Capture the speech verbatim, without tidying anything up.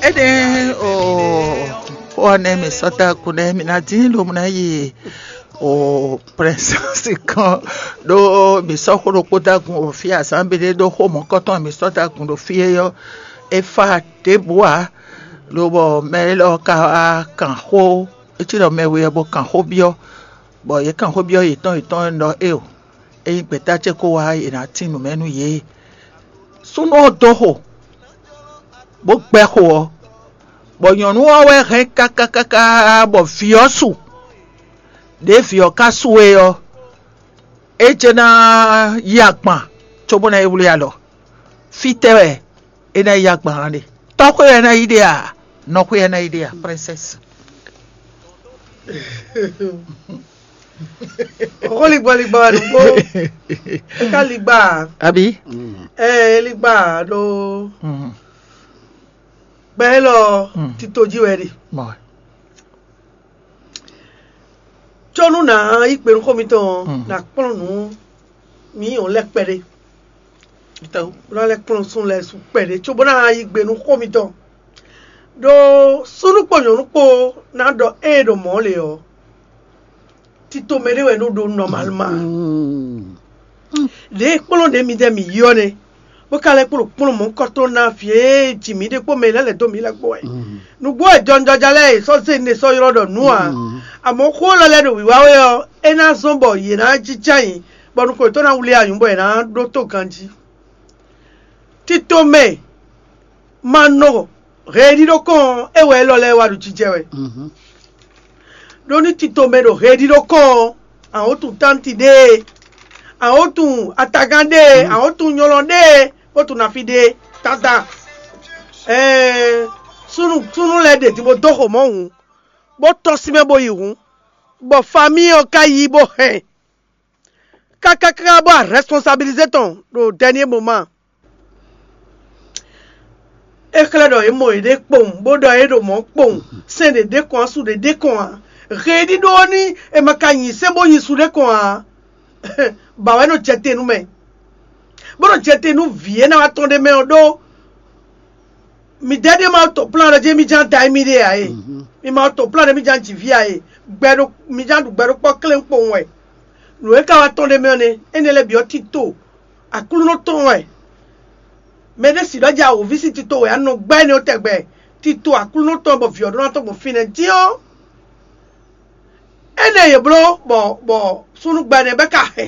Énɛ́ o xó ɔ́ nɛ́ mǐ sɔ́ dó agun nɛ́ mǐ ná dín lobo ná yi o prɛnsɛ́si kɔn ɖó mǐ sɔ́ xó ɖokpó dó agun o fí azǎn béɖé ɖó xó mɔ̌kɔtɔn mǐ sɔ́ dó agun ɖo fí é ɔ́, é fá ɖěbǔ ǎ. Lobɔ mɛ élɔ́ ka wá kan xó, é cí ɖɔ mɛ we ɔ́ bó kan xó byɔ́, bɔ yě kan xó byɔ́ yětɔn yětɔn ɖɔ éeǒ, ényí gbɛ̌ta ce ko wá, è nǎ tín nǔ mɛ nú yě. Súnnu ɔ́ dó xo, bó gbɛ́ xo ɔ́, bɔ nyɔ̌nu ɔ́ wɛ hɛn káká káká bɔ vǐ ɔ́ su. Ɖěe vǐ ɔ́ ka su é ɔ́, é jɛ ná yí agban cóbó ná yi wlí alɔ. Fítɛ́ wɛ é ná yi yí agban ɔ́ ɖe? Tɔ́xwé wɛ é ná yi ɖe a? Nɔxwé wɛ é ná yi ɖe a, princesse? Xó ligbɔligbɔ wɛ nǔgbó. É ka ligba ǎ. Abi? Ɛɛ, é ligba ǎ ɖó gbɛ élɔ́ tito jí wɛ ɖe. Mɔ. Có nú nǎ yí gbe nú xó mitɔn ɔ́, nǎ kplɔ́n nǔ mǐ nyɔ̌nu lɛ́ɛ kpɛɖé. Bó ná lɛ́ kplɔ́n súnnu lɛ́ɛ su kpɛɖé, cóbó ná yí gbe nú xó mitɔn. Ɖó súnnu kpó nyɔ̌nu kpó ná ɖɔ ée ɖo mɔ̌ lě ɔ́, tito mɛ ɖé wɛ nɔ ɖó nɔmalma. Ɖě e kplɔ́n ɖě midɛɛ mǐ yi ɔ́ nɛ́, bó ka lɛ́ kplɔ́n kplɔ́n mɔ̌kɔtɔn ná vǐ e ji mǐ ɖe kpó mɛ e lɛ́ lɛ̌ dó mǐ lɛ́ɛ kpó wɛ. Nǔgbó wɛ jɔnjɔja lɛ́ɛ e sɔ́ zé nɛ sɔ́ ylɔ́ ɖɔ nǔ ǎ. Amɔ̌ xó élɔ́ lɛ́ɛ ɖo wǐwá wɛ ɔ́, é ná zɔ́n bɔ yě ná jínjɔ́n ayǐ, bɔ nukɔn yětɔn ná wlí anyǔ bɔ yě ná ɖótó ganjí. Tito mɛ ma nɔ heɖíɖó kɔn ɔ́, é wɛ élɔ́ lɛ́ɛ wá ɖo jijɛ wɛ. Ɖó ní tito mɛ ɖo heɖíɖó kɔn ɔ́, àwọn tunwun tánti ɖéé, àwọn tunwun atagán ɖéé, àwọn tunwun nyɔlɔ ɖéé, bó tunwun nafi ɖéé tata. Ɛɛ súnnu súnnu lɛ́ɛ ɖe din bó dó xo mɔ̌ hǔn, bó tɔ́n sín mɛ bó yi hǔn, bɔ famíi ɔ́ ka yí bó hɛn kákáká bó a rɛspɔnsabilizé tɔn ɖo dɛnié moma. É xlɛ́ ɖɔ yě mɔ yěɖée kpowun, bó ɖɔ é ɖo mɔ̌ kpowun, sɛn ɖě ɖě kɔn, asú ɖě ɖě kɔn ǎ. Heɖíɖó ɔ́ ní è ma ka nyi sɛ́n bó nyi su ɖé kɔn ǎ, ba wɛ nɔ jɛ te nú mɛ, bó nɔ jɛ te nú vǐ e ná wá tɔn ɖ'é mɛ ɔ́ ɖó. Midɛɛ ɖé ma to plan ɖɔ jí mi ján da émí ɖe ǎ é. Mi ma to plan ɖɔ mi ján jǐ vǐ ǎ é. Gbɛ ɖo mi ján ɖu gbɛ ɖokpɔ́ klɛ́n kpowun wɛ. Nǔ e ka wá tɔn ɖ'é mɛ ɔ́ nɛ́, énɛ́ lɛ́ɛ bǐ ɔ́ tito Aklúnɔ tɔn wɛ. Mɛ ɖé si ɖɔ jí awǒvi sín tito wɛ a nɔ gbɛ́ énɛ́ ɔ́ tɛgbɛ. Tito Aklúnɔ tɔn bɔ vǐ ɔ́ ɖó ná tɔn gbɔn fínɛ́ dín ɔ́, énɛ́ yě bló bɔ bɔ súnnu gbɛ nɛ́ bɛ́ ka hɛ